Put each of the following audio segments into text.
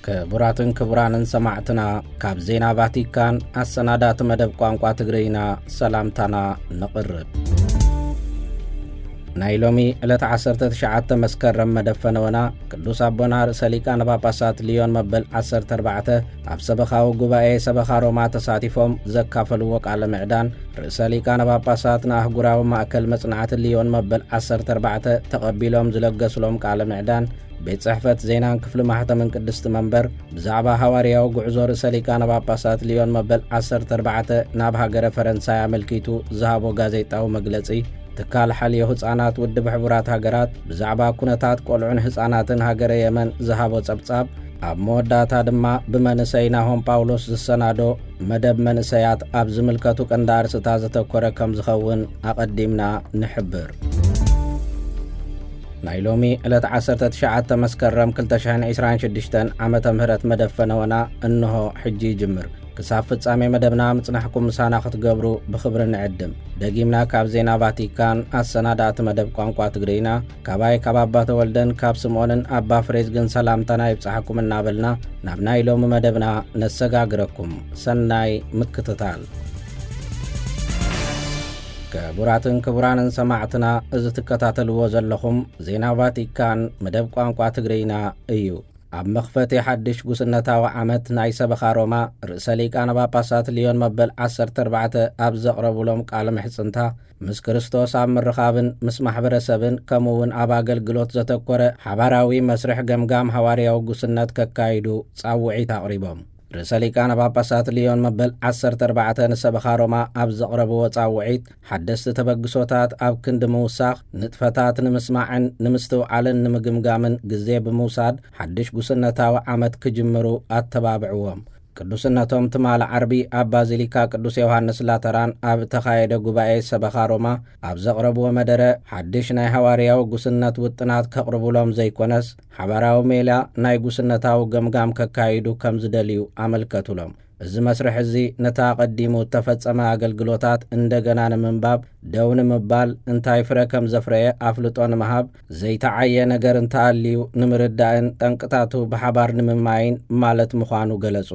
ክቡራትን ክቡራንን ሰማዕትና፣ ካብ ዜና ቫቲካን ኣሰናዳእቲ መደብ ቋንቋ ትግርይና ሰላምታና ነቕርብ። ናይ ሎሚ ዕለት ዓሰርተ ትሽዓተ መስከረም መደብ ፈነወና፣ ቅዱስ ኣቦና ርእሰ ሊቃነ ጳጳሳት ሊዮን መበል ዓሰርተ ኣርባዕተ ኣብ ሰበኻዊ ጉባኤ ሰበኻ ሮማ ተሳቲፎም ዘካፈልዎ ቃለ ምዕዳን፣ ርእሰ ሊቃነ ጳጳሳት ንኣህጉራዊ ማእከል መጽናዕቲ ሊዮን መበል ዓሰርተ ኣርባዕተ ተቐቢሎም ዝለገስሎም ቃለ ምዕዳን፣ ቤት ጽሕፈት ዜናን ክፍሊ ማሕተምን ቅድስቲ መንበር ብዛዕባ ሃዋርያዊ ጉዕዞ ርእሰ ሊቃነ ጳጳሳት ሊዮን መበል ዓሰርተ ኣርባዕተ ናብ ሃገረ ፈረንሳይ ኣመልኪቱ ዝሃቦ ጋዜጣዊ መግለጺ፣ ትካል ሓልዮ ህጻናት ውድብ ሕቡራት ሃገራት ብዛዕባ ኩነታት ቆልዑን ህጻናትን ሃገረ የመን ዝሃቦ ጸብጻብ፣ ኣብ መወዳእታ ድማ ብመንእሰይ ናሆም ጳውሎስ ዝሰናዶ መደብ መንእሰያት ኣብ ዝምልከቱ ቀንዲ ኣርእስታት ዘተኮረ ከም ዝኸውን ኣቐዲምና ንሕብር። ናይ ሎሚ ዕለት ዓሰርተ ትሽዓተ መስከረም ክልተ ሽሕን ዕስራን ሽዱሽተን ዓመተ ምህረት መደብ ፈነወና እንሆ ሕጂ ይጅምር። ክሳብ ፍጻሜ መደብና ምጽናሕኩም ምሳና ክትገብሩ ብኽብሪ ንዕድም። ደጊምና ካብ ዜና ቫቲካን ኣሰናዳእቲ መደብ ቋንቋ ትግርይና፣ ካባይ ካብ ኣባ ተወልደን ካብ ስምዖንን ኣባ ፍሬዝግን ሰላምታና ይብጻሕኩም እናበልና፣ ናብ ናይ ሎሚ መደብና ነሰጋግረኩም። ሰናይ ምክትታል። ክቡራትን ክቡራንን ሰማዕትና፣ እዚ ትከታተልዎ ዘለኹም ዜና ቫቲካን መደብ ቋንቋ ትግርይና እዩ። ኣብ መኽፈቲ ሓድሽ ጉስነታዊ ዓመት ናይ ሰበኻ ሮማ፣ ርእሰ ሊቃነ ጳጳሳት ሊዮን መበል ዓሰርተ ኣርባዕተ ኣብ ዘቕረቡሎም ቃለ ምሕጽንታ፣ ምስ ክርስቶስ ኣብ ምርኻብን ምስ ማሕበረሰብን ከምኡ እውን ኣብ ኣገልግሎት ዘተኮረ ሓባራዊ መስርሕ ገምጋም ሃዋርያዊ ጉስነት ከካይዱ ጻውዒት ኣቕሪቦም። ርእሰ ሊቃነ ጳጳሳት ሊዮን መበል ዓሰርተ ኣርባዕተ ንሰበኻ ሮማ ኣብ ዘቕረብዎ ጻውዒት፣ ሓደስቲ ተበግሶታት ኣብ ክንዲ ምውሳኽ፣ ንጥፈታት ንምስማዕን ንምስትውዓልን ንምግምጋምን ግዜ ብምውሳድ፣ ሓድሽ ጉስነታዊ ዓመት ክጅምሩ ኣተባብዕዎም። ቅዱስነቶም ትማሊ ዓርቢ ኣብ ባዚሊካ ቅዱስ ዮሃንስ ላተራን ኣብ እተኻየደ ጉባኤ ሰበኻ ሮማ ኣብ ዘቕረብዎ መደረ፣ ሓድሽ ናይ ሃዋርያዊ ጉስነት ውጥናት ከቕርቡሎም ዘይኮነስ፣ ሓባራዊ ሜላ ናይ ጉስነታዊ ገምጋም ከካይዱ ከም ዝደልዩ ኣመልከቱሎም። እዚ መስርሕ እዚ ነቲ ኣቐዲሙ እተፈጸመ ኣገልግሎታት እንደገና ንምንባብ፣ ደው ንምባል፣ እንታይ ፍረ ከም ዘፍረየ ኣፍልጦ ንምሃብ፣ ዘይተዓየ ነገር እንተኣልዩ ንምርዳእን ጠንቅታቱ ብሓባር ንምምማይን ማለት ምዃኑ ገለጹ።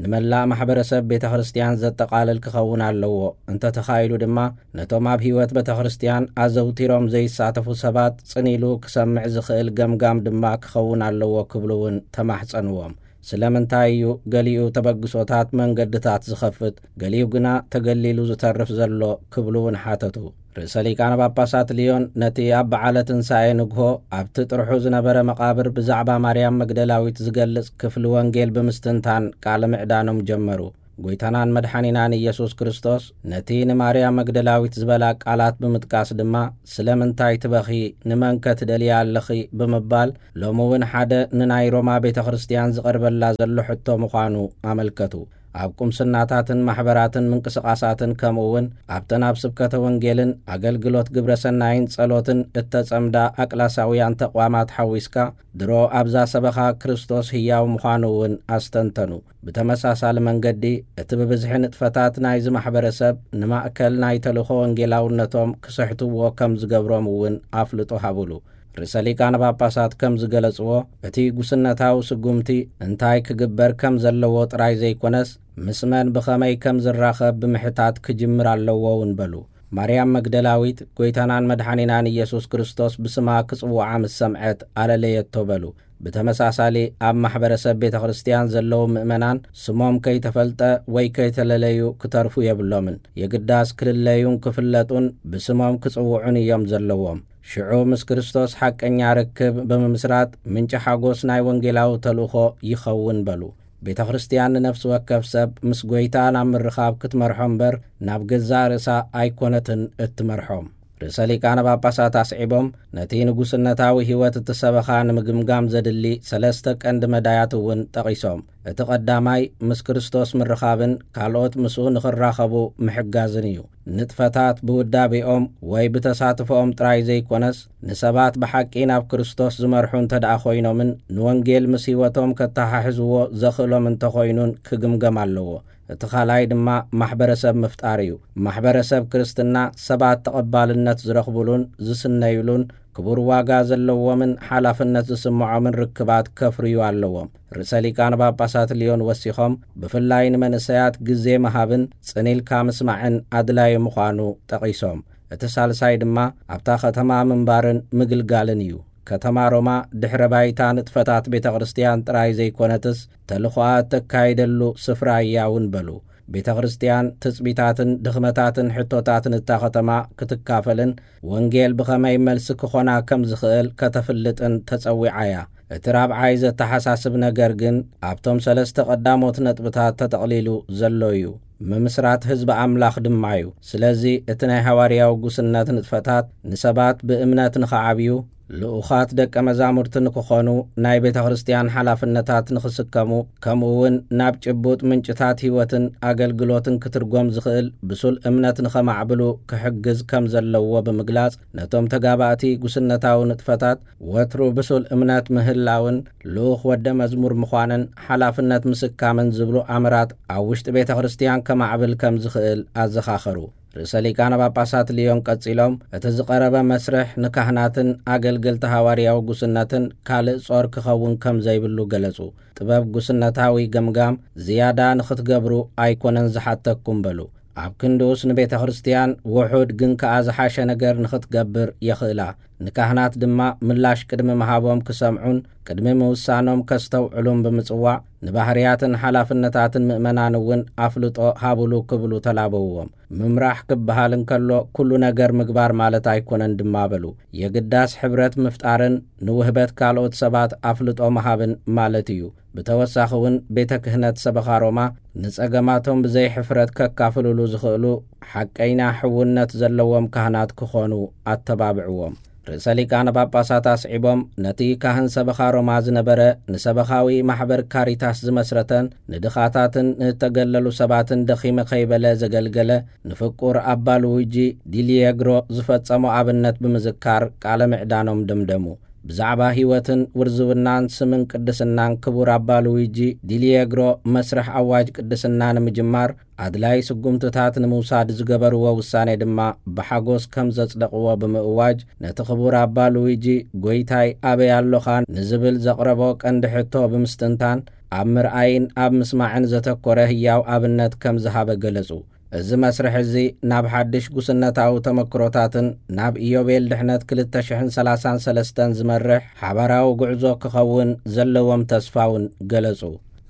ንመላእ ማሕበረሰብ ቤተ ክርስቲያን ዘጠቓልል ክኸውን ኣለዎ። እንተተኻኢሉ ድማ፣ ነቶም ኣብ ህይወት ቤተ ክርስቲያን ኣዘውቲሮም ዘይሳተፉ ሰባት ጽን ኢሉ ክሰምዕ ዝኽእል ገምጋም ድማ ክኸውን ኣለዎ ክብሉ እውን ተማሕጸንዎም። ስለምንታይ እዩ ገሊኡ ተበግሶታት መንገድታት ዝኸፍት፣ ገሊኡ ግና ተገሊሉ ዝተርፍ ዘሎ ክብሉ እውን ሓተቱ። ርእሰ ሊቃነ ጳጳሳት ሊዮን ነቲ ኣብ በዓለ ትንሳኤ ንግሆ ኣብቲ ጥርሑ ዝነበረ መቓብር ብዛዕባ ማርያም መግደላዊት ዝገልጽ ክፍሊ ወንጌል ብምስትንታን ቃለ ምዕዳኖም ጀመሩ። ጐይታናን መድሓኒናን ኢየሱስ ክርስቶስ ነቲ ንማርያም መግደላዊት ዝበላ ቃላት ብምጥቃስ ድማ፣ "ስለምንታይ ትበኺ? ንመንከ ትደልያ ኣለኺ?" ብምባል፣ ሎሚ እውን ሓደ ንናይ ሮማ ቤተ ክርስቲያን ዝቐርበላ ዘሎ ሕቶ ምዃኑ ኣመልከቱ። ኣብ ቁምስናታትን ማሕበራትን ምንቅስቓሳትን፣ ከምኡ እውን ኣብተን ኣብ ስብከተ ወንጌልን ኣገልግሎት ግብረ ሰናይን ጸሎትን እተጸምዳ ኣቅላሳውያን ተቋማት ሓዊስካ፣ ድሮ ኣብዛ ሰበኻ ክርስቶስ ህያው ምዃኑ እውን ኣስተንተኑ። ብተመሳሳሊ መንገዲ፣ እቲ ብብዝሒ ንጥፈታት ናይዚ ማሕበረሰብ ንማእከል ናይ ተልእኾ ወንጌላውነቶም ክስሕትዎ ከም ዝገብሮም እውን ኣፍልጦ ሃቡሉ። ርእሰ ሊቃነ ጳጳሳት ከም ዝገለጽዎ፣ እቲ ጉስነታዊ ስጉምቲ እንታይ ክግበር ከም ዘለዎ ጥራይ ዘይኮነስ፣ ምስ መን ብኸመይ ከም ዝራኸብ ብምሕታት ክጅምር ኣለዎ እውን በሉ። ማርያም መግደላዊት፣ ጐይታናን መድሓኒናን ኢየሱስ ክርስቶስ ብስማ ክጽውዓ ምስ ሰምዐት፣ ኣለለየቶ በሉ። ብተመሳሳሊ፣ ኣብ ማሕበረሰብ ቤተ ክርስቲያን ዘለዉ ምእመናን፣ ስሞም ከይተፈልጠ ወይ ከይተለለዩ ክተርፉ የብሎምን። የግዳስ ክልለዩን ክፍለጡን ብስሞም ክጽውዑን እዮም ዘለዎም። ሽዑ ምስ ክርስቶስ ሓቀኛ ርክብ ብምምስራት፣ ምንጪ ሓጎስ ናይ ወንጌላዊ ተልእኾ ይኸውን በሉ። ቤተ ክርስቲያን ንነፍሲ ወከፍ ሰብ ምስ ጐይታ ናብ ምርኻብ ክትመርሖ እምበር፣ ናብ ገዛእ ርእሳ ኣይኮነትን እትመርሖም። ርእሰ ሊቃነ ጳጳሳት ኣስዒቦም፣ ነቲ ንጉስነታዊ ህይወት እቲ ሰበኻ ንምግምጋም ዘድሊ ሰለስተ ቀንዲ መዳያት እውን ጠቒሶም። እቲ ቀዳማይ፣ ምስ ክርስቶስ ምርኻብን ካልኦት ምስኡ ንኽራኸቡ ምሕጋዝን እዩ። ንጥፈታት ብውዳቤኦም ወይ ብተሳትፎኦም ጥራይ ዘይኮነስ፣ ንሰባት ብሓቂ ናብ ክርስቶስ ዝመርሑ እንተ ደኣ ኮይኖምን ንወንጌል ምስ ህይወቶም ከተሓሕዝዎ ዘኽእሎም እንተኾይኑን ክግምገም ኣለዎ። እቲ ካልኣይ ድማ ማሕበረሰብ ምፍጣር እዩ። ማሕበረሰብ ክርስትና ሰባት ተቐባልነት ዝረኽቡሉን ዝስነዩሉን፣ ክቡር ዋጋ ዘለዎምን ሓላፍነት ዝስምዖምን ርክባት ከፍርዩ ኣለዎም። ርእሰ ሊቃነ ጳጳሳት ሊዮን ወሲኾም፣ ብፍላይ ንመንእሰያት ግዜ ምሃብን ጽን ኢልካ ምስማዕን ኣድላዪ ምዃኑ ጠቒሶም፣ እቲ ሳልሳይ ድማ ኣብታ ከተማ ምንባርን ምግልጋልን እዩ። ከተማ ሮማ ድሕረ ባይታ ንጥፈታት ቤተ ክርስቲያን ጥራይ ዘይኮነትስ፣ ተልእኾኣ እተካይደሉ ስፍራ እያ እውን በሉ። ቤተ ክርስቲያን ትጽቢታትን ድኽመታትን ሕቶታትን እታ ከተማ ክትካፈልን ወንጌል ብኸመይ መልሲ ክኾና ከም ዝኽእል ከተፍልጥን ተጸዊዓ እያ። እቲ ራብዓይ ዘተሓሳስብ ነገር ግን ኣብቶም ሰለስተ ቀዳሞት ነጥብታት ተጠቕሊሉ ዘሎ እዩ። ምምስራት ህዝቢ ኣምላኽ ድማ እዩ። ስለዚ እቲ ናይ ሃዋርያዊ ጉስነት ንጥፈታት ንሰባት ብእምነት ንኽዓብዩ፣ ልኡኻት ደቀ መዛሙርቲ ንክኾኑ፣ ናይ ቤተ ክርስቲያን ሓላፍነታት ንኽስከሙ፣ ከምኡ እውን ናብ ጭቡጥ ምንጭታት ህይወትን ኣገልግሎትን ክትርጎም ዝኽእል ብሱል እምነት ንኸማዕብሉ ክሕግዝ ከም ዘለዎ ብምግላጽ፣ ነቶም ተጋባእቲ ጉስነታዊ ንጥፈታት ወትሩ ብሱል እምነት ምህላውን ልኡኽ ወደ መዝሙር ምዃንን ሓላፍነት ምስካምን ዝብሉ ኣምራት ኣብ ውሽጢ ቤተ ክርስቲያን ከማዕብል ከም ዝኽእል ኣዘኻኸሩ። ርእሰ ሊቃነ ጳጳሳት ሊዮን ቀጺሎም፣ እቲ ዝቐረበ መስርሕ ንካህናትን ኣገልገልቲ ሃዋርያዊ ጉስነትን ካልእ ጾር ክኸውን ከም ዘይብሉ ገለጹ። ጥበብ ጉስነታዊ ገምጋም ዝያዳ ንኽትገብሩ ኣይኮነን ዝሓተኩም በሉ። ኣብ ክንድኡስ ንቤተ ክርስቲያን ውሑድ ግን ከኣ ዝሓሸ ነገር ንኽትገብር የኽእላ። ንካህናት ድማ ምላሽ ቅድሚ ምሃቦም ክሰምዑን ቅድሚ ምውሳኖም ከስተውዕሉን ብምጽዋዕ፣ ንባህርያትን ሓላፍነታትን ምእመናን እውን ኣፍልጦ ሃቡሉ ክብሉ ተላበውዎም። ምምራሕ ክበሃል እንከሎ ኩሉ ነገር ምግባር ማለት ኣይኮነን ድማ በሉ። የግዳስ ሕብረት ምፍጣርን ንውህበት ካልኦት ሰባት ኣፍልጦ ምሃብን ማለት እዩ። ብተወሳኺ እውን ቤተ ክህነት ሰበኻ ሮማ ንጸገማቶም ብዘይ ሕፍረት ከካፍልሉ ዝኽእሉ ሓቀይና ሕውነት ዘለዎም ካህናት ክኾኑ ኣተባብዕዎም። ርእሰ ሊቃነ ጳጳሳት ኣስዒቦም፣ ነቲ ካህን ሰበኻ ሮማ ዝነበረ፣ ንሰበኻዊ ማሕበር ካሪታስ ዝመስረተን ንድኻታትን ንተገለሉ ሰባትን ደኺመ ከይበለ ዘገልገለ ንፍቁር ኣባ ሉዊጂ ዲሊየግሮ ዝፈጸሞ ኣብነት ብምዝካር ቃለ ምዕዳኖም ደምደሙ። ብዛዕባ ህይወትን ውርዝውናን ስምን ቅድስናን ክቡር ኣባ ሉዊጂ ዲሊየግሮ መስርሕ ኣዋጅ ቅድስና ንምጅማር ኣድላይ ስጉምትታት ንምውሳድ ዝገበርዎ ውሳኔ ድማ ብሓጎስ ከም ዘጽደቕዎ ብምእዋጅ፣ ነቲ ክቡር ኣባ ሉዊጂ "ጎይታይ ኣበይ ኣሎኻ?" ንዝብል ዘቕረቦ ቀንዲ ሕቶ ብምስትንታን፣ ኣብ ምርኣይን ኣብ ምስማዕን ዘተኮረ ህያው ኣብነት ከም ዝሃበ ገለጹ። እዚ መስርሕ እዚ ናብ ሓድሽ ጉስነታዊ ተመክሮታትን ናብ ኢዮቤል ድሕነት ክልተ ሽሕን ሰላሳን ሰለስተን ዝመርሕ ሓባራዊ ጉዕዞ ክኸውን ዘለዎም ተስፋ እውን ገለጹ።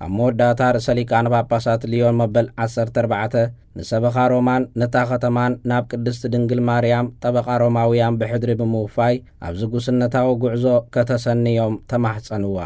ኣብ መወዳእታ ርእሰ ሊቃነ ጳጳሳት ሊዮን መበል ዓሰርተ ኣርባዕተ ንሰበኻ ሮማን ነታ ከተማን ናብ ቅድስቲ ድንግል ማርያም ጠበቓ ሮማውያን ብሕድሪ ብምውፋይ ኣብዚ ጉስነታዊ ጉዕዞ ከተሰንዮም ተማሕጸንዋ።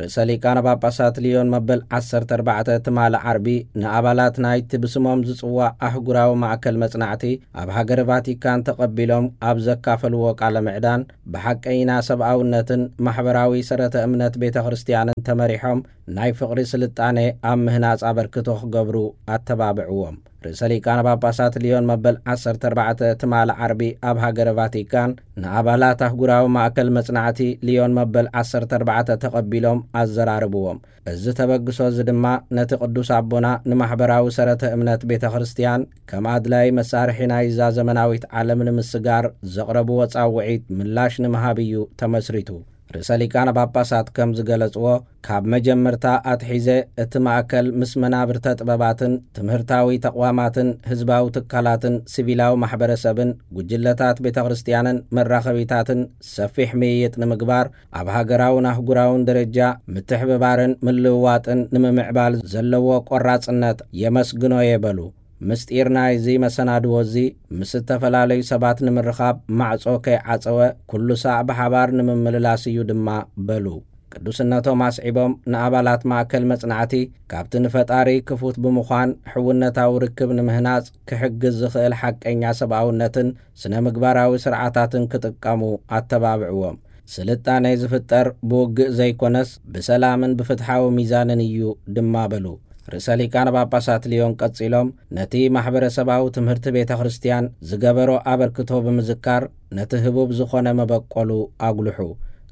ርእሰ ሊቃነ ጳጳሳት ሊዮን መበል ዓሰርተ ኣርባዕተ ትማሊ ዓርቢ ንኣባላት ናይቲ ብስሞም ዝጽዋዕ ኣህጉራዊ ማእከል መጽናዕቲ ኣብ ሃገረ ቫቲካን ተቐቢሎም ኣብ ዘካፈልዎ ቃለ ምዕዳን፣ ብሓቀይና ሰብኣውነትን ማሕበራዊ ሰረተ እምነት ቤተ ክርስቲያንን ተመሪሖም ናይ ፍቕሪ ስልጣኔ ኣብ ምህናጽ ኣበርክቶ ክገብሩ ኣተባብዕዎም። ርእሰ ሊቃነ ጳጳሳት ሊዮን መበል ዓሰርተ ኣርባዕተ ትማሊ ዓርቢ ኣብ ሃገረ ቫቲካን ንኣባላት ኣህጉራዊ ማእከል መጽናዕቲ ሊዮን መበል ዓሰርተ ኣርባዕተ ተቐቢሎም ኣዘራርብዎም። እዚ ተበግሶ እዚ ድማ ነቲ ቅዱስ ኣቦና ንማሕበራዊ ሰረተ እምነት ቤተ ክርስቲያን ከም ኣድላይ መሳርሒ ናይዛ ዘመናዊት ዓለም ንምስጋር ዘቕረብዎ ጻውዒት ምላሽ ንምሃብ እዩ ተመስሪቱ። ርእሰ ሊቃነ ጳጳሳት ከም ዝገለጽዎ፣ ካብ መጀመርታ ኣትሒዘ እቲ ማእከል ምስ መናብርተ ጥበባትን ትምህርታዊ ተቕዋማትን ህዝባዊ ትካላትን ሲቪላዊ ማሕበረሰብን ጉጅለታት ቤተ ክርስቲያንን መራኸቢታትን ሰፊሕ ምይይጥ ንምግባር፣ ኣብ ሃገራውን ኣህጉራውን ደረጃ ምትሕብባርን ምልውዋጥን ንምምዕባል ዘለዎ ቆራጽነት የመስግኖ እየ በሉ። ምስጢር ናይዚ መሰናድዎ እዚ ምስ ዝተፈላለዩ ሰባት ንምርኻብ ማዕጾ ከይዓጸወ ኩሉ ሳዕ ብሓባር ንምምልላስ እዩ ድማ በሉ። ቅዱስነቶም ኣስዒቦም ንኣባላት ማእከል መጽናዕቲ ካብቲ ንፈጣሪ ክፉት ብምዃን ሕውነታዊ ርክብ ንምህናጽ ክሕግዝ ዝኽእል ሓቀኛ ሰብኣውነትን ስነ ምግባራዊ ስርዓታትን ክጥቀሙ ኣተባብዕዎም። ስልጣኔ ዝፍጠር ብውግእ ዘይኮነስ ብሰላምን ብፍትሓዊ ሚዛንን እዩ ድማ በሉ። ርእሰ ሊቃነ ጳጳሳት ሊዮን ቀጺሎም ነቲ ማሕበረሰባዊ ትምህርቲ ቤተ ክርስቲያን ዝገበሮ ኣበርክቶ ብምዝካር ነቲ ህቡብ ዝኾነ መበቆሉ ኣጉልሑ።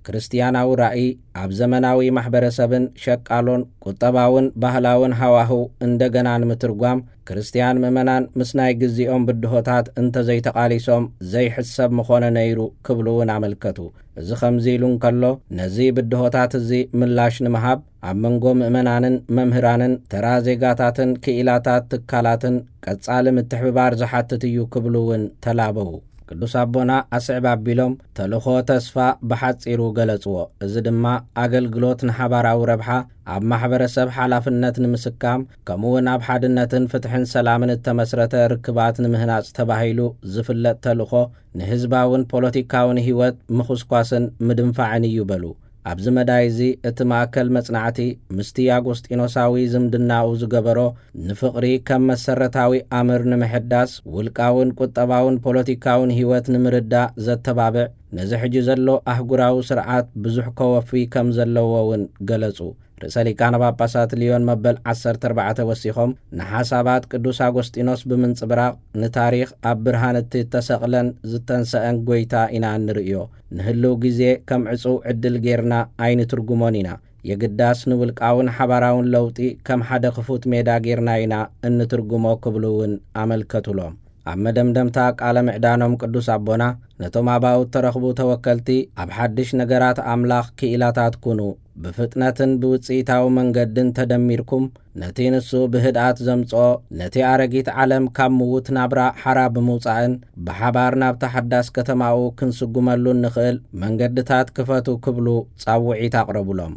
ክርስትያናዊ ራእይ ኣብ ዘመናዊ ማሕበረሰብን ሸቃሎን ቁጠባውን ባህላውን ሃዋህው እንደገና ንምትርጓም፣ ክርስትያን ምእመናን ምስ ናይ ግዜኦም ብድሆታት እንተዘይተቓሊሶም ዘይሕሰብ ምኾነ ነይሩ ክብሉ እውን ኣመልከቱ። እዚ ከምዚ ኢሉ እንከሎ፣ ነዚ ብድሆታት እዚ ምላሽ ንምሃብ ኣብ መንጎ ምእመናንን መምህራንን ተራ ዜጋታትን ክኢላታት ትካላትን ቀጻሊ ምትሕብባር ዝሓትት እዩ ክብሉ እውን ተላበዉ። ቅዱስ ኣቦና ኣስዕብ ኣቢሎም ተልእኾ ተስፋ ብሓጺሩ ገለጽዎ። እዚ ድማ ኣገልግሎት ንሓባራዊ ረብሓ፣ ኣብ ማሕበረሰብ ሓላፍነት ንምስካም፣ ከምኡውን ኣብ ሓድነትን ፍትሕን ሰላምን እተመስረተ ርክባት ንምህናጽ ተባሂሉ ዝፍለጥ ተልእኾ፣ ንህዝባውን ፖለቲካውን ህይወት ምኹስኳስን ምድንፋዕን እዩ በሉ። ኣብዚ መዳይ እዚ እቲ ማእከል መጽናዕቲ ምስቲ ኣጎስጢኖሳዊ ዝምድናኡ ዝገበሮ ንፍቕሪ ከም መሰረታዊ ኣምር ንምሕዳስ፣ ውልቃውን ቁጠባውን ፖለቲካውን ህይወት ንምርዳእ ዘተባብዕ፣ ነዚ ሕጂ ዘሎ ኣህጉራዊ ስርዓት ብዙሕ ከወፊ ከም ዘለዎ እውን ገለጹ። ርእሰ ሊቃነ ጳጳሳት ሊዮን መበል ዓሰርተ ኣርባዕተ ወሲኾም፣ ንሓሳባት ቅዱስ ኣጎስጢኖስ ብምንጽብራቕ፣ ንታሪኽ ኣብ ብርሃን እቲ እተሰቕለን ዝተንሰአን ጐይታ ኢና እንርእዮ። ንህልው ግዜ ከም ዕጹው ዕድል ጌርና ኣይንትርጉሞን ኢና። የግዳስ ንውልቃውን ሓባራውን ለውጢ ከም ሓደ ክፉት ሜዳ ጌርና ኢና እንትርጉሞ ክብሉ እውን ኣመልከቱሎም። ኣብ መደምደምታ ቃለ ምዕዳኖም ቅዱስ ኣቦና ነቶም ኣባውት ተረኽቡ ተወከልቲ ኣብ ሓድሽ ነገራት ኣምላኽ ክኢላታት ኩኑ፣ ብፍጥነትን ብውጽኢታዊ መንገድን ተደሚርኩም ነቲ ንሱ ብህድኣት ዘምጽኦ፣ ነቲ ኣረጊት ዓለም ካብ ምዉት ናብራ ሓራ ብምውጻእን ብሓባር ናብታ ሓዳስ ከተማኡ ክንስጉመሉ እንኽእል መንገድታት ክፈቱ ክብሉ ጻውዒት ኣቕረቡሎም።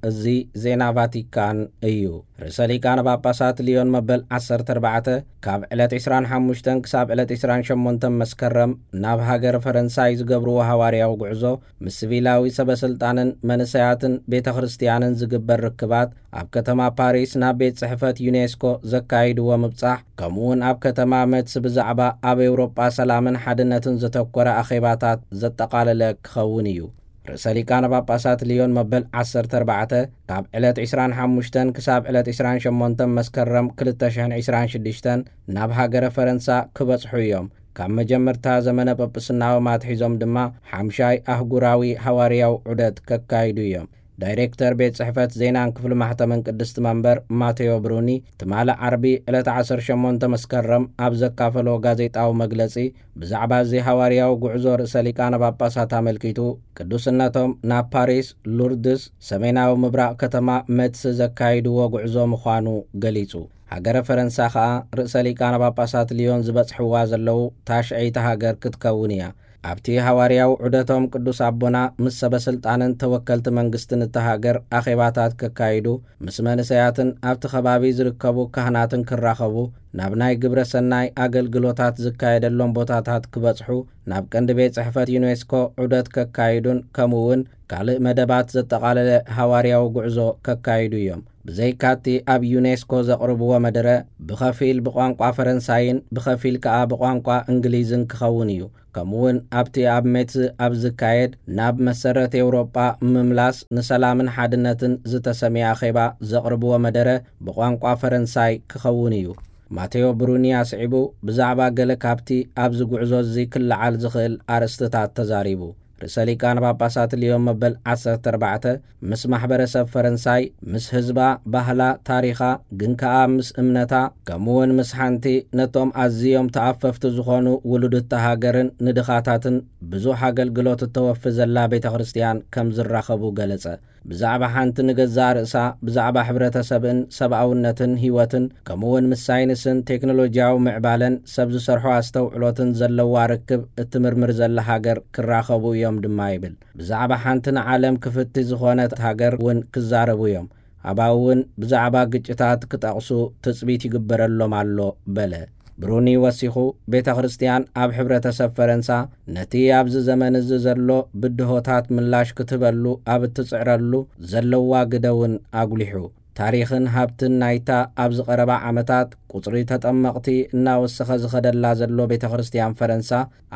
እዚ ዜና ቫቲካን እዩ። ርእሰ ሊቃነ ጳጳሳት ሊዮን መበል ዓሰርተ ኣርባዕተ ካብ ዕለት ዕስራን ሓሙሽተን ክሳብ ዕለት ዕስራን ሸሞንተን መስከረም ናብ ሃገር ፈረንሳይ ዝገብርዎ ሃዋርያዊ ጉዕዞ፣ ምስ ሲቪላዊ ሰበ ስልጣንን መንእሰያትን ቤተ ክርስቲያንን ዝግበር ርክባት፣ ኣብ ከተማ ፓሪስ ናብ ቤት ጽሕፈት ዩኔስኮ ዘካይድዎ ምብጻሕ፣ ከምኡ እውን ኣብ ከተማ ሜትስ ብዛዕባ ኣብ ኤውሮጳ ሰላምን ሓድነትን ዘተኮረ ኣኼባታት ዘጠቓለለ ክኸውን እዩ። ርእሰ ሊቃነ ጳጳሳት ሊዮን መበል ዓሰርተ ኣርባዕተ ካብ ዕለት ዕስራን ሓሙሽተን ክሳብ ዕለት ዕስራን ሸሞንተን መስከረም ክልተ ሽሕን ዕስራን ሽዱሽተን ናብ ሃገረ ፈረንሳ ክበጽሑ እዮም። ካብ መጀመርታ ዘመነ ጳጳስናኦም ኣትሒዞም ድማ ሓምሻይ ኣህጉራዊ ሃዋርያዊ ዑደት ከካይዱ እዮም። ዳይሬክተር ቤት ጽሕፈት ዜናን ክፍሊ ማሕተምን ቅድስቲ መንበር ማቴዮ ብሩኒ፣ ትማሊ ዓርቢ ዕለት ዓሰርተ ሸሞንተ መስከረም ኣብ ዘካፈሎ ጋዜጣዊ መግለጺ፣ ብዛዕባ እዚ ሃዋርያዊ ጉዕዞ ርእሰ ሊቃነ ጳጳሳት ኣመልኪቱ፣ ቅዱስነቶም ናብ ፓሪስ፣ ሉርድስ፣ ሰሜናዊ ምብራቕ ከተማ ሜትስ ዘካይድዎ ጉዕዞ ምዃኑ ገሊጹ። ሃገረ ፈረንሳ ኸኣ ርእሰ ሊቃነ ጳጳሳት ሊዮን ዝበጽሕዋ ዘለዉ ታሽዐይቲ ሃገር ክትከውን እያ። ኣብቲ ሃዋርያዊ ዑደቶም ቅዱስ ኣቦና ምስ ሰበ ስልጣንን ተወከልቲ መንግስትን እታ ሃገር ኣኼባታት ከካይዱ፣ ምስ መንእሰያትን ኣብቲ ከባቢ ዝርከቡ ካህናትን ክራኸቡ፣ ናብ ናይ ግብረ ሰናይ ኣገልግሎታት ዝካየደሎም ቦታታት ክበጽሑ፣ ናብ ቀንዲ ቤት ጽሕፈት ዩኔስኮ ዑደት ከካይዱን ከምኡ እውን ካልእ መደባት ዘጠቓለለ ሃዋርያዊ ጉዕዞ ከካይዱ እዮም። ብዘይካቲ ኣብ ዩኔስኮ ዘቕርብዎ መደረ ብኸፊል ብቋንቋ ፈረንሳይን ብኸፊል ከኣ ብቋንቋ እንግሊዝን ክኸውን እዩ። ከምኡውን ኣብቲ ኣብ ሜትስ ኣብ ዝካየድ ናብ መሰረት ኤውሮጳ ምምላስ ንሰላምን ሓድነትን ዝተሰምየ ኣኼባ ዘቕርብዎ መደረ ብቋንቋ ፈረንሳይ ክኸውን እዩ። ማቴዎ ብሩኒ ኣስዒቡ ብዛዕባ ገለ ካብቲ ኣብዚ ጉዕዞ እዚ ክለዓል ዝኽእል ኣርእስትታት ተዛሪቡ። ርእሰ ሊቃነ ጳጳሳት ሊዮን መበል ዓሰርተ ኣርባዕተ ምስ ማሕበረሰብ ፈረንሳይ፣ ምስ ህዝባ፣ ባህላ፣ ታሪኻ፣ ግን ከኣ ምስ እምነታ፣ ከምኡውን ምስ ሓንቲ ነቶም ኣዝዮም ተኣፈፍቲ ዝኾኑ ውሉድታ ሃገርን ንድኻታትን ብዙሕ ኣገልግሎት እተወፊ ዘላ ቤተ ክርስቲያን ከም ዝራኸቡ ገለጸ። ብዛዕባ ሓንቲ ንገዛእ ርእሳ፣ ብዛዕባ ሕብረተሰብን ሰብኣውነትን ህይወትን፣ ከምኡውን ምስ ሳይንስን ቴክኖሎጂያዊ ምዕባለን ሰብ ዝሰርሖ ኣስተውዕሎትን ዘለዋ ርክብ እትምርምር ዘላ ሃገር ክራኸቡ እዮም ድማ ይብል። ብዛዕባ ሓንቲ ንዓለም ክፍቲ ዝኾነት ሃገር እውን ክዛረቡ እዮም። ኣባኡ እውን ብዛዕባ ግጭታት ክጠቕሱ ትጽቢት ይግበረሎም ኣሎ በለ። ብሩኒ ወሲኹ፣ ቤተ ክርስቲያን ኣብ ሕብረተሰብ ፈረንሳ ነቲ ኣብዚ ዘመን እዚ ዘሎ ብድሆታት ምላሽ ክትህበሉ ኣብ እትጽዕረሉ ዘለዋ ግደ እውን ኣጉሊሑ፣ ታሪኽን ሃብትን ናይታ ኣብዚ ቀረባ ዓመታት ቁጽሪ ተጠመቕቲ እናወሰኸ ዝኸደላ ዘሎ ቤተ ክርስቲያን ፈረንሳ፣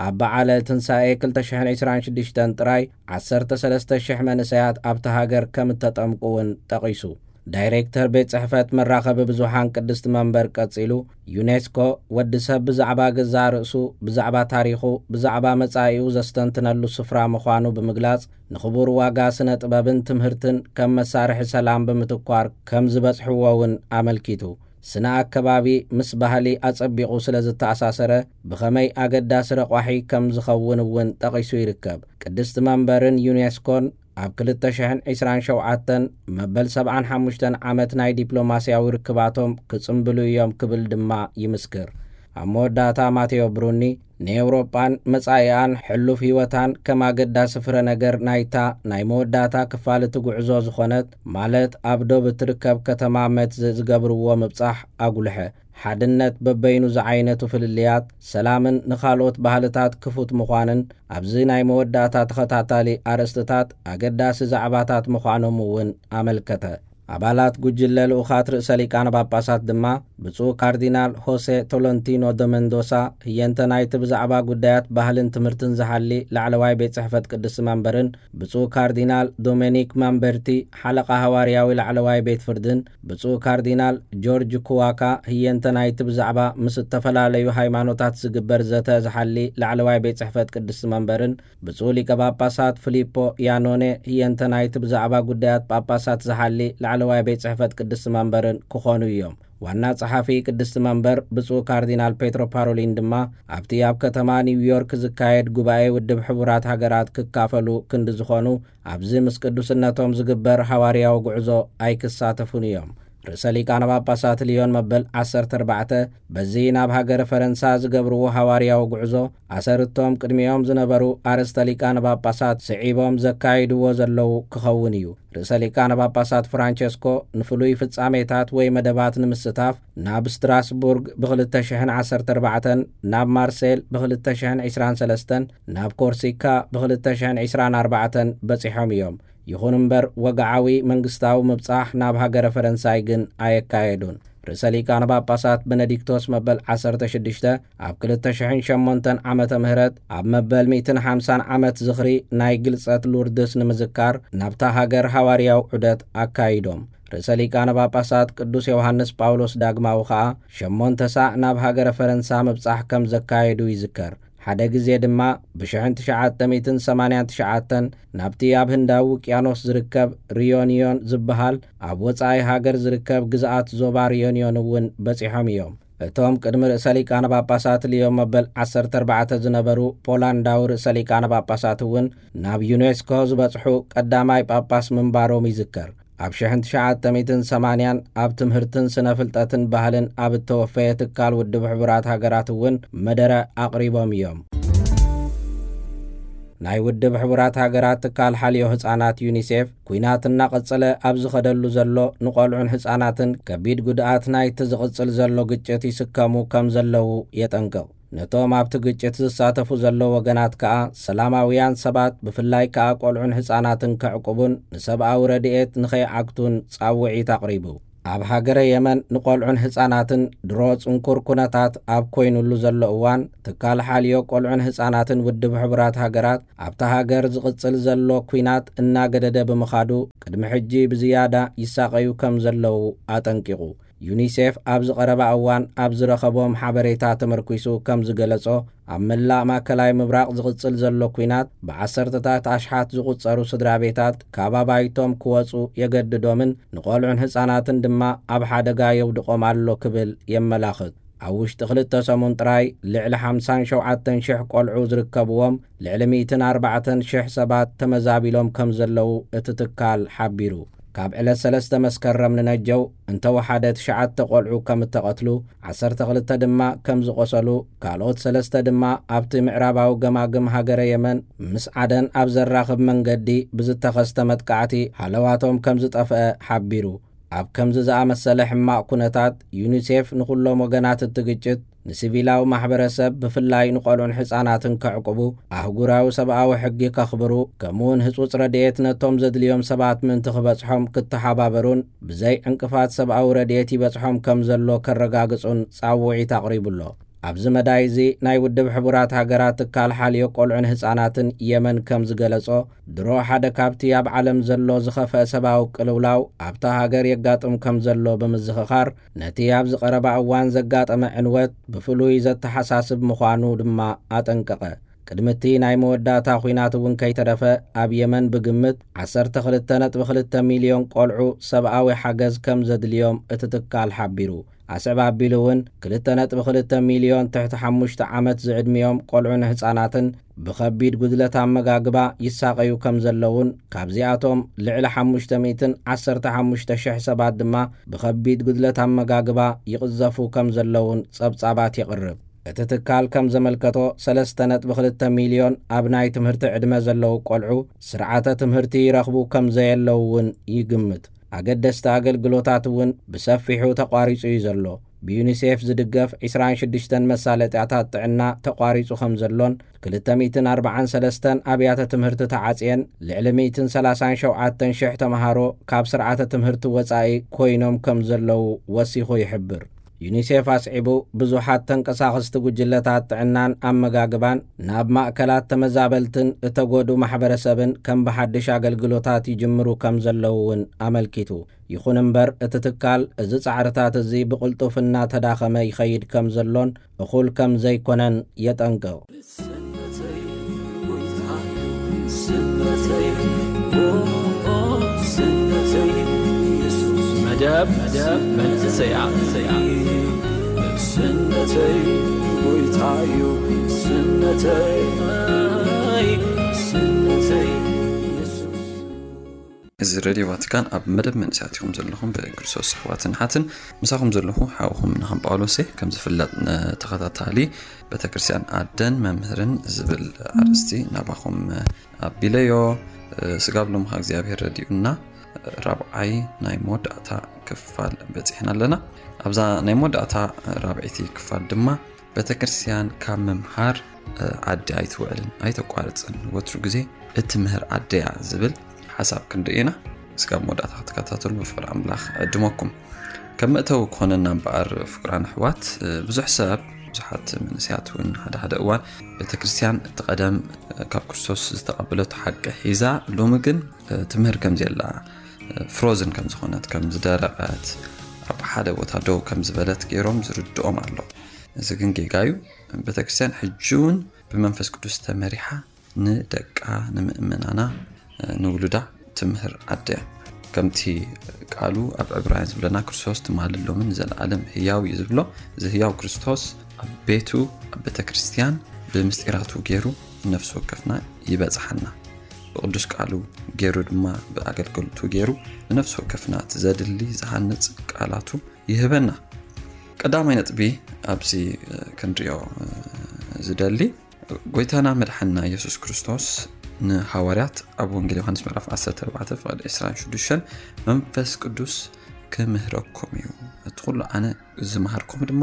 ኣብ በዓለ ትንሳኤ ክልተ ሽሕን ዕስራን ሽዱሽተን ጥራይ ዓሰርተ ሰለስተ ሽሕ መንእሰያት ኣብታ ሃገር ከም እተጠምቁ እውን ጠቒሱ። ዳይሬክተር ቤት ጽሕፈት መራኸቢ ብዙሓን ቅድስቲ መንበር ቀጺሉ፣ ዩኔስኮ ወዲ ሰብ ብዛዕባ ገዛእ ርእሱ፣ ብዛዕባ ታሪኹ፣ ብዛዕባ መጻኢኡ ዘስተንትነሉ ስፍራ ምዃኑ ብምግላጽ፣ ንኽቡር ዋጋ ስነ ጥበብን ትምህርትን ከም መሳርሒ ሰላም ብምትኳር ከም ዝበጽሕዎ እውን ኣመልኪቱ። ስነ ኣከባቢ ምስ ባህሊ ኣጸቢቑ ስለ ዝተኣሳሰረ፣ ብኸመይ ኣገዳሲ ረቋሒ ከም ዝኸውን እውን ጠቒሱ ይርከብ። ቅድስቲ መንበርን ዩኔስኮን ኣብ ክልተ ሽሕን ዕስራን ሸውዓተን መበል ሰብዓን ሓሙሽተን ዓመት ናይ ዲፕሎማስያዊ ርክባቶም ክጽምብሉ እዮም ክብል ድማ ይምስክር። ኣብ መወዳእታ ማቴዎ ብሩኒ ንኤውሮጳን መጻኢኣን ሕሉፍ ህይወታን ከም ኣገዳሲ ፍረ ነገር ናይታ ናይ መወዳእታ ክፋል እቲ ጉዕዞ ዝኾነት፣ ማለት ኣብ ዶብ እትርከብ ከተማ መትዝ ዝገብርዎ ምብጻሕ ኣጉልሐ። ሓድነት በበይኑ ዝዓይነቱ ፍልልያት፣ ሰላምን ንኻልኦት ባህልታት ክፉት ምዃንን ኣብዚ ናይ መወዳእታ ተኸታታሊ ኣርእስትታት ኣገዳሲ ዛዕባታት ምዃኖም እውን ኣመልከተ። ኣባላት ጉጅለ ልኡኻት ርእሰ ሊቃነ ጳጳሳት ድማ ብፁዕ ካርዲናል ሆሴ ቶሎንቲኖ ደ መንዶሳ፣ ህየንተ ናይቲ ብዛዕባ ጉዳያት ባህልን ትምህርትን ዝሓሊ ላዕለዋይ ቤት ጽሕፈት ቅድስቲ መንበርን ብፁዕ ካርዲናል ዶሜኒክ ማምበርቲ፣ ሓለቓ ሃዋርያዊ ላዕለዋይ ቤት ፍርድን ብፁዕ ካርዲናል ጆርጅ ኩዋካ፣ ህየንተ ናይቲ ብዛዕባ ምስ እተፈላለዩ ሃይማኖታት ዝግበር ዘተ ዝሓሊ ላዕለዋይ ቤት ጽሕፈት ቅድስቲ መንበርን ብፁዕ ሊቀ ጳጳሳት ፊሊፖ ያኖኔ፣ ህየንተ ናይቲ ብዛዕባ ጉዳያት ጳጳሳት ዝሓሊ ላዕለዋይ ቤት ጽሕፈት ቅድስቲ መንበርን ክኾኑ እዮም። ዋና ጸሓፊ ቅድስቲ መንበር ብፁዕ ካርዲናል ፔትሮ ፓሮሊን ድማ ኣብቲ ኣብ ከተማ ኒውዮርክ ዝካየድ ጉባኤ ውድብ ሕቡራት ሃገራት ክካፈሉ ክንዲ ዝኾኑ፣ ኣብዚ ምስ ቅዱስነቶም ዝግበር ሃዋርያዊ ጉዕዞ ኣይክሳተፉን እዮም። ርእሰ ሊቃነ ጳጳሳት ልዮን መበል ዓሰርተ ኣርባዕተ በዚ ናብ ሃገረ ፈረንሳ ዝገብርዎ ሃዋርያዊ ጉዕዞ፣ ኣሰርቶም ቅድሚኦም ዝነበሩ ኣርእስተ ሊቃነ ጳጳሳት ስዒቦም ዘካይድዎ ዘለዉ ክኸውን እዩ። ርእሰ ሊቃነ ጳጳሳት ፍራንቸስኮ ንፍሉይ ፍጻሜታት ወይ መደባት ንምስታፍ ናብ ስትራስቡርግ ብ ክልተ ሽሕን ዓሰርተ ኣርባዕተን፣ ናብ ማርሴል ብ ክልተ ሽሕን ዕስራን ሰለስተን፣ ናብ ኮርሲካ ብ ክልተ ሽሕን ዕስራን ኣርባዕተን በጺሖም እዮም። ይኹን እምበር፣ ወግዓዊ መንግስታዊ ምብጻሕ ናብ ሃገረ ፈረንሳይ ግን ኣየካየዱን። ርእሰ ሊቃነ ጳጳሳት በነዲክቶስ መበል ዓሰርተ ሽዱሽተ ኣብ ክልተ ሽሕን ሸሞንተን ዓመተ ምህረት ኣብ መበል ሚእትን ሓምሳን ዓመት ዝኽሪ ናይ ግልጸት ሉርድስ ንምዝካር ናብታ ሃገር ሃዋርያዊ ዑደት ኣካይዶም። ርእሰ ሊቃነ ጳጳሳት ቅዱስ ዮሃንስ ጳውሎስ ዳግማዊ ኸኣ ሸሞንተ ሳዕ ናብ ሃገረ ፈረንሳ ምብጻሕ ከም ዘካየዱ ይዝከር። ሓደ ግዜ ድማ ብሽሕን ትሽዓተ ሚእትን ሰማንያን ትሽዓተን ናብቲ ኣብ ህንዳዊ ውቅያኖስ ዝርከብ ሪዮንዮን ዝበሃል ኣብ ወጻኢ ሃገር ዝርከብ ግዝኣት ዞባ ሪዮንዮን እውን በጺሖም እዮም። እቶም ቅድሚ ርእሰ ሊቃነ ጳጳሳት ልዮ መበል ዓሰርተ ኣርባዕተ ዝነበሩ ፖላንዳዊ ርእሰ ሊቃነ ጳጳሳት እውን ናብ ዩኔስኮ ዝበጽሑ ቀዳማይ ጳጳስ ምንባሮም ይዝከር። ኣብ ሽሕን ትሽዓተ ሚእትን ሰማንያን ኣብ ትምህርትን ስነ ፍልጠትን ባህልን ኣብ እተወፈየ ትካል ውድብ ሕቡራት ሃገራት እውን መደረ ኣቕሪቦም እዮም። ናይ ውድብ ሕቡራት ሃገራት ትካል ሓልዮ ህጻናት ዩኒሴፍ፣ ኲናት እናቐጸለ ኣብ ዝኸደሉ ዘሎ፣ ንቖልዑን ህጻናትን ከቢድ ጉድኣት ናይቲ ዝቕጽል ዘሎ ግጭት ይስከሙ ከም ዘለዉ የጠንቅቕ። ነቶም ኣብቲ ግጭት ዝሳተፉ ዘለዉ ወገናት ከኣ፣ ሰላማውያን ሰባት ብፍላይ ከኣ ቆልዑን ህጻናትን ከዕቁቡን ንሰብኣዊ ረድኤት ንኸይዓግቱን ጻውዒት ኣቕሪቡ። ኣብ ሃገረ የመን ንቆልዑን ህጻናትን ድሮ ጽንኩር ኩነታት ኣብ ኮይኑሉ ዘሎ እዋን፣ ትካል ሓልዮ ቆልዑን ህጻናትን ውድብ ሕቡራት ሃገራት ኣብታ ሃገር ዝቕጽል ዘሎ ኲናት እናገደደ ብምኻዱ፣ ቅድሚ ሕጂ ብዝያዳ ይሳቐዩ ከም ዘለዉ ኣጠንቂቑ። ዩኒሴፍ ኣብዚ ቀረባ እዋን ኣብ ዝረኸቦም ሓበሬታ ተመርኲሱ ከም ዝገለጾ፣ ኣብ መላእ ማእከላይ ምብራቕ ዝቕጽል ዘሎ ኲናት ብዓሰርተታት ኣሽሓት ዝቑጸሩ ስድራ ቤታት ካብ ኣባይቶም ክወጹ የገድዶምን ንቖልዑን ህጻናትን ድማ ኣብ ሓደጋ የውድቖም ኣሎ ክብል የመላኽት። ኣብ ውሽጢ ክልተ ሰሙን ጥራይ ልዕሊ ሓምሳን ሸውዓተን ሽሕ ቆልዑ ዝርከብዎም ልዕሊ ሚእትን ኣርባዕተን ሽሕ ሰባት ተመዛቢሎም ከም ዘለዉ እቲ ትካል ሓቢሩ። ካብ ዕለት ሰለስተ መስከረም ንነጀው እንተወሓደ ትሽዓተ ቆልዑ ከም እተቐትሉ፣ ዓሰርተ ክልተ ድማ ከም ዝቖሰሉ፣ ካልኦት ሰለስተ ድማ ኣብቲ ምዕራባዊ ገማግም ሃገረ የመን ምስ ዓደን ኣብ ዘራኽብ መንገዲ ብዝተኸስተ መጥቃዕቲ ሃለዋቶም ከም ዝጠፍአ ሓቢሩ። ኣብ ከምዚ ዝኣመሰለ ሕማቕ ኩነታት፣ ዩኒሴፍ ንኹሎም ወገናት እቲ ግጭት፣ ንሲቪላዊ ማሕበረሰብ ብፍላይ ንቆልዑን ሕጻናትን ከዕቁቡ፣ ኣህጉራዊ ሰብኣዊ ሕጊ ከኽብሩ፣ ከምኡውን ህጹጽ ረድኤት ነቶም ዘድልዮም ሰባት ምእንቲ ክበጽሖም ክተሓባበሩን ብዘይ ዕንቅፋት ሰብኣዊ ረድኤት ይበጽሖም ከም ዘሎ ከረጋግጹን ጻውዒት ኣቕሪቡ ኣሎ። ኣብዚ መዳይ እዚ ናይ ውድብ ሕቡራት ሃገራት ትካል ሓልዮ ቆልዑን ህጻናትን የመን ከም ዝገለጾ፣ ድሮ ሓደ ካብቲ ኣብ ዓለም ዘሎ ዝኸፍአ ሰብኣዊ ቅልውላው ኣብታ ሃገር የጋጥም ከም ዘሎ ብምዝኽኻር፣ ነቲ ኣብዚ ቀረባ እዋን ዘጋጠመ ዕንወት ብፍሉይ ዘተሓሳስብ ምዃኑ ድማ ኣጠንቀቐ። ቅድሚ እቲ ናይ መወዳእታ ኲናት እውን ከይተረፈ፣ ኣብ የመን ብግምት ዓሰርተ ክልተ ነጥቢ ክልተ ሚልዮን ቆልዑ ሰብኣዊ ሓገዝ ከም ዘድልዮም እቲ ትካል ሓቢሩ። ኣስዕብ ኣቢሉ እውን ክልተ ነጥቢ ክልተ ሚልዮን ትሕቲ ሓሙሽተ ዓመት ዝዕድሚኦም ቆልዑን ህጻናትን ብኸቢድ ጉድለት ኣመጋግባ ይሳቐዩ ከም ዘለውን፣ ካብዚኣቶም ልዕሊ ሓሙሽተ ሚእትን ዓሰርተ ሓሙሽተ ሽሕ ሰባት ድማ ብኸቢድ ጉድለት ኣመጋግባ ይቕዘፉ ከም ዘለውን ጸብጻባት የቕርብ። እቲ ትካል ከም ዘመልከቶ፣ ሰለስተ ነጥቢ ክልተ ሚልዮን ኣብ ናይ ትምህርቲ ዕድመ ዘለዉ ቆልዑ ስርዓተ ትምህርቲ ይረኽቡ ከም ዘየለዉ እውን ይግምት። ኣገደስቲ ኣገልግሎታት እውን ብሰፊሑ ተቋሪጹ እዩ ዘሎ። ብዩኒሴፍ ዝድገፍ ዕስራን ሽዱሽተን መሳለጥያታት ጥዕና ተቋሪጹ ከም ዘሎን፣ ክልተ ሚእትን ኣርባዓን ሰለስተን ኣብያተ ትምህርቲ ተዓጽየን፣ ልዕሊ ሚእትን ሰላሳን ሸውዓተን ሽሕ ተምሃሮ ካብ ስርዓተ ትምህርቲ ወጻኢ ኮይኖም ከም ዘለዉ ወሲኹ ይሕብር። ዩኒሴፍ ኣስዒቡ፣ ብዙሓት ተንቀሳቐስቲ ጉጅለታት ጥዕናን ኣመጋግባን ናብ ማእከላት ተመዛበልትን እተጎዱ ማሕበረሰብን ከም ብሓድሽ ኣገልግሎታት ይጅምሩ ከም ዘለዉ እውን ኣመልኪቱ። ይኹን እምበር፣ እቲ ትካል እዚ ጻዕርታት እዚ ብቕልጡፍ እናተዳኸመ ይኸይድ ከም ዘሎን እኹል ከም ዘይኮነን የጠንቅቕ። መደብ መንእሰያ። ስነተይ ጎይታዩ ስነተይ ስነተይ እዚ ሬድዮ ቫቲካን ኣብ መደብ መንእሰያት ኢኹም ዘለኹም። ብክርስቶስ ኣሕዋትን ሓትን ምሳኹም ዘለኹ ሓውኹም ናኸም ጳውሎስ እየ። ከም ዝፍለጥ፣ ንተኸታታሊ ቤተክርስትያን ኣደን መምህርን ዝብል ኣርእስቲ ናባኹም ኣቢለዮ። ስጋብ ሎምኻ እግዚኣብሔር ረዲኡና ራብዓይ ናይ መወዳእታ ክፋል በፂሕና ኣለና። ኣብዛ ናይ መወዳእታ ራብዐይቲ ክፋል ድማ ቤተክርስትያን ካብ ምምሃር ዓዲ ኣይትውዕልን፣ ኣይተቋርፅን። ወትሩ ግዜ እትምህር ዓደያ ዝብል ሓሳብ ክንርኢ ኢና። እስካብ መወዳእታ ክትከታተሉ ብፍቅሪ ኣምላኽ ዕድመኩም። ከም መእተዊ ክኾነና እምበኣር ፍቅራን ኣሕዋት፣ ብዙሕ ሰብ፣ ብዙሓት መንእሰያት እውን ሓደ ሓደ እዋን ቤተክርስትያን እቲ ቀደም ካብ ክርስቶስ ዝተቐበለቶ ሓቂ ሒዛ፣ ሎሚ ግን ትምህር ከም ዘየላ፣ ፍሮዝን ከም ዝኾነት፣ ከም ዝደረቐት፣ ኣብ ሓደ ቦታ ደው ከም ዝበለት ገይሮም ዝርድኦም ኣሎ። እዚ ግን ጌጋ እዩ። ቤተክርስትያን ሕጂ እውን ብመንፈስ ቅዱስ ተመሪሓ ንደቃ፣ ንምእመናና፣ ንውሉዳ ትምህር ዓደያ። ከምቲ ቃሉ ኣብ ዕብራውያን ዝብለና፣ ክርስቶስ ትማልን ሎምን ንዘለኣለም ህያው እዩ ዝብሎ። እዚ ህያው ክርስቶስ ኣብ ቤቱ፣ ኣብ ቤተክርስትያን ብምስጢራቱ ገይሩ ንነፍሲ ወከፍና ይበጽሓና። ብቅዱስ ቃሉ ገይሩ ድማ ብኣገልገልቱ ገይሩ ንነፍሲ ወከፍና እቲ ዘድሊ ዝሃንጽ ቃላቱ ይህበና። ቀዳማይ ነጥቢ ኣብዚ ክንሪኦ ዝደሊ፣ ጎይታና መድሓንና ኢየሱስ ክርስቶስ ንሃዋርያት ኣብ ወንጌል ዮሃንስ ምዕራፍ ዓሰርተ ኣርባዕተ ፍቕዲ ዕስራን ሽዱሽተን መንፈስ ቅዱስ ክምህረኩም እዩ፣ እቲ ኩሉ ኣነ ዝመሃርኩም ድማ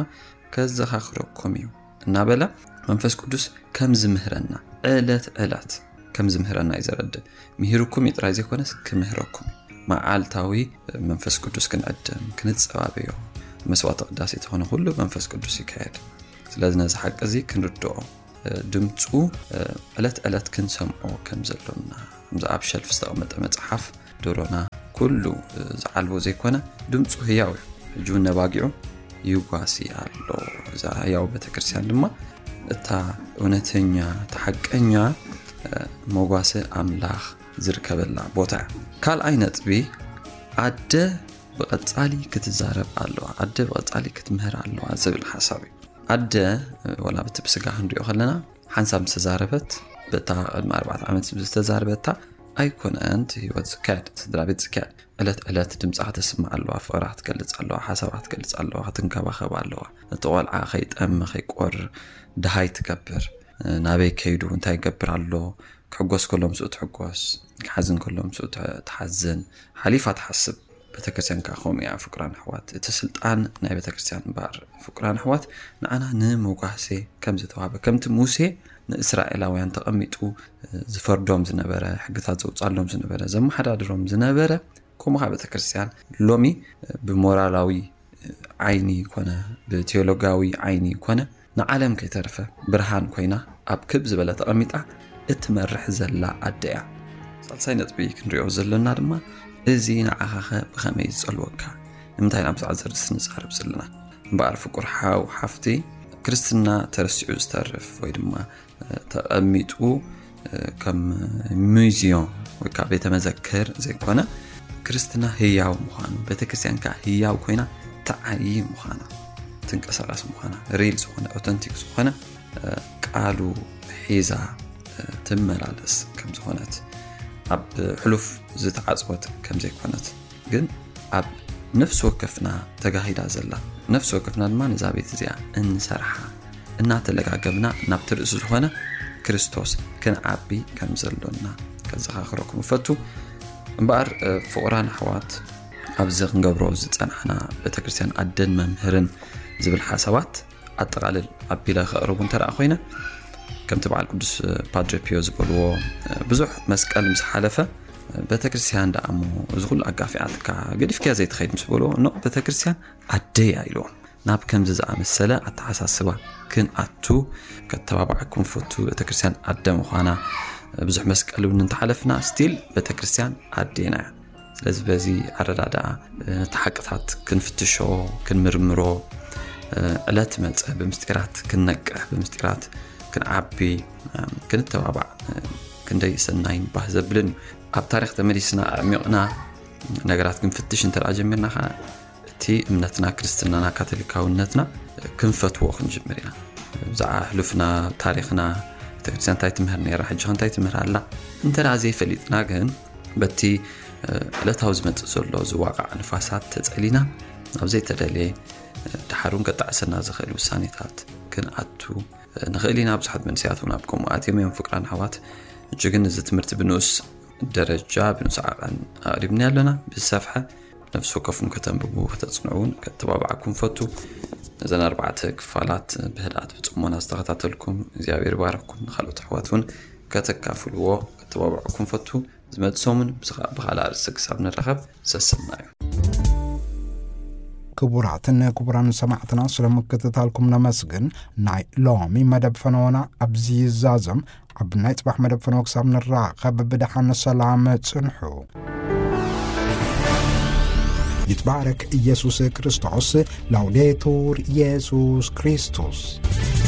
ከዘኻኽረኩም እዩ እናበለ መንፈስ ቅዱስ ከም ዝምህረና፣ ዕለት ዕለት ከም ዝምህረና እዩ ዘረድእ። ምሂርኩም እዩ ጥራይ ዘይኮነስ ክምህረኩም እዩ። መዓልታዊ መንፈስ ቅዱስ ክንዕድም፣ ክንጸባበዮ፣ መስዋዕተ ቅዳሴ ተኾነ ኩሉ መንፈስ ቅዱስ ይካየድ። ስለዚ ነዚ ሓቂ እዚ ክንርድኦ፣ ድምፁ ዕለት ዕለት ክንሰምዖ ከም ዘሎና፣ ከምዚ ኣብ ሸልፍ ዝተቐመጠ መጽሓፍ ደሮና ኩሉ ዝዓልቦ ዘይኮነ፣ ድምፁ ህያው እዩ። ሕጂ እውን ነባጊዑ ይጓሲ ኣሎ። እዛ ህያው ቤተክርስትያን ድማ እታ እውነተኛ፣ እታ ሓቀኛ መጓሰ ኣምላኽ ዝርከበላ ቦታ እያ። ካልኣይ ነጥቢ፣ ኣደ ብቐጻሊ ክትዛረብ ኣለዋ፣ ኣደ ብቐጻሊ ክትምህር ኣለዋ ዝብል ሓሳብ እዩ። ኣደ፣ ወላ በቲ ብስጋ ክንሪኦ ከለና፣ ሓንሳብ ዝተዛረበት፣ በታ ቅድሚ ኣርባዕተ ዓመት ዝተዛረበታ ኣይኮነን እቲ ህይወት ዝካየድ፣ ስድራ ቤት ዝካየድ። ዕለት ዕለት ድምጻ ከተስምዕ ኣለዋ፣ ፍቕራ ክትገልጽ ኣለዋ፣ ሓሳባ ክትገልጽ ኣለዋ፣ ክትንከባኸብ ኣለዋ። እቲ ቆልዓ ከይጠሚ፣ ከይቆር፣ ደሃይ ትገብር። ናበይ ከይዱ፣ እንታይ ይገብር ኣሎ፣ ክሕጎስ ከሎ ምስኡ ትሕጎስ፣ ክሓዝን ከሎ ምስኡ ት-፣ ትሓዝን፣ ሓሊፋ ትሓስብ። ቤተክርስትያን ከኣ ከምኡ እያ፣ ፍቅራን ኣሕዋት። እቲ ስልጣን ናይ ቤተክርስትያን እምበኣር፣ ፍቅራን ኣሕዋት፣ ንዓና ንመጓሴ ከም ዝተዋህበ፣ ከምቲ ሙሴ ንእስራኤላውያን ተቐሚጡ ዝፈርዶም ዝነበረ፣ ሕግታት ዘውጻሎም ዝነበረ፣ ዘመሓዳድሮም ዝነበረ፣ ከምኡ ከኣ ቤተክርስትያን ሎሚ ብሞራላዊ ዓይኒ ኮነ፣ ብቴዎሎጋዊ ዓይኒ ኮነ፣ ንዓለም ከይተርፈ ብርሃን ኮይና ኣብ ክብ ዝበለ ተቐሚጣ እትመርሕ ዘላ ኣደ እያ። ሳልሳይ ነጥቢ ክንሪኦ ዘለና ድማ፣ እዚ ንዓኻኸ ብኸመይ ዝጸልወካ? ንምንታይ ኢና ብዛዕባ ዘርስ ንዛረብ ዘለና? እምበኣር ፍቁር ሓው ሓፍቲ፣ ክርስትና ተረሲዑ ዝተርፍ ወይ ድማ ተቐሚጡ ከም ሙዚየም ወይ ከዓ ቤተ መዘክር ዘይኮነ፣ ክርስትና ህያው ምዃኑ፣ ቤተክርስትያን ከዓ ህያው ኮይና ትዓይ ምዃና፣ ትንቀሳቐስ ምዃና፣ ሪል ዝኾነ፣ ኦተንቲክ ዝኾነ ቃሉ ሒዛ ትመላለስ ከም ዝኾነት፣ ኣብ ሕሉፍ ዝተዓጽወት ከም ዘይኮነት፣ ግን ኣብ ነፍሲ ወከፍና ተጋሂዳ ዘላ፣ ነፍሲ ወከፍና ድማ ነዛ ቤት እዚኣ እንሰርሓ፣ እናተለጋገብና ናብቲ ርእሲ ዝኾነ ክርስቶስ ክንዓቢ ከም ዘሎና ከዘኻኽረኩም እፈቱ። እምበኣር ፍቑራን ኣሕዋት፣ ኣብዚ ክንገብሮ ዝጸናሕና ቤተክርስትያን ኣደን መምህርን ዝብል ሓሳባት ኣጠቓልል ኣቢለ ከቕርቡ እንተ ደኣ ኮይነ፣ ከምቲ በዓል ቅዱስ ፓድረ ፒዮ ዝበልዎ፣ ብዙሕ መስቀል ምስ ሓለፈ፣ ቤተክርስትያን ደኣ እሞ እዚ ኩሉ ኣጋፊዓትካ ገዲፍክያ ዘይትኸይድ ምስ በልዎ፣ ኖ፣ ቤተክርስትያን ኣደያ ኢልዎም። ናብ ከምዚ ዝኣመሰለ ኣተሓሳስባ ክንኣቱ ከተባባዓኩም ፈቱ። ቤተክርስትያን ኣደ ምዃና፣ ብዙሕ መስቀል እውን እንተሓለፍና፣ ስቲል ቤተክርስትያን ኣዴና እያ። ስለዚ በዚ ኣረዳድኣ እቲ ሓቅታት ክንፍትሾ፣ ክንምርምሮ፣ ዕለት መጸ ብምስጢራት ክንነቅሕ፣ ብምስጢራት ክንዓቢ፣ ክንተባባዕ ክንደይ ሰናይን ባህ ዘብልን እዩ። ኣብ ታሪኽ ተመሊስና ኣዕሚቕና ነገራት ክንፍትሽ እንተ ደኣ ጀሚርና ኸዓ፣ እቲ እምነትና ክርስትናና ካቶሊካውነትና ክንፈትዎ ክንጅምር ኢና። ብዛዕባ ሕሉፍና፣ ታሪኽና፣ ቤተክርስትያን እንታይ ትምህር ነይራ፣ ሕጂ እንታይ ትምህር ኣላ፣ እንተ ደኣ ዘይፈሊጥና ግን በቲ ዕለታዊ ዝመጽእ ዘሎ ዝዋቃዕ ንፋሳት ተጸሊና ናብ ዘይተደልየ፣ ድሓር እውን ከጣዕሰና ዝኽእል ውሳኔታት ክንኣቱ ንኽእል ኢና። ብዙሓት መንእሰያት እውን ኣብ ከምኡ ኣትዮም እዮም። ፍቅራን ኣሕዋት፣ ሕጂ ግን እዚ ትምህርቲ ብንኡስ ደረጃ፣ ብንኡስ ዓቐን ኣቕሪብና ኣለና። ብዝሰፍሐ ነፍሲ ወከፍኩም ከተንብቡ፣ ከተጽንዑ እውን ከተባባዓኩም ፈቱ። ነዘን ኣርባዕተ ክፋላት ብህድኣት ብጽሞና ዝተኸታተልኩም እግዚኣብሔር ይባረኩም። ንኻልኦት ኣሕዋት እውን ከተካፍልዎ ከተባባዓኩም ፈቱ። ዝመጽእ ሰሙን ብዝኻ-፣ ብኻልእ ኣርእስቲ ክሳብ ንራኸብ ሰሰና እዩ። ክቡራትን ክቡራን ሰማዕትና፣ ስለ ምክትታልኩም ነመስግን። ናይ ሎሚ መደብ ፈነወና ኣብዚ ይዛዘም። ኣብ ናይ ጽባሕ መደብ ፈነወ ክሳብ ንራኸብ ብደሓን ሰላም ጽንሑ። ይትባረክ ኢየሱስ ክርስቶስ። ላውዴቱር ኢየሱስ ክርስቶስ።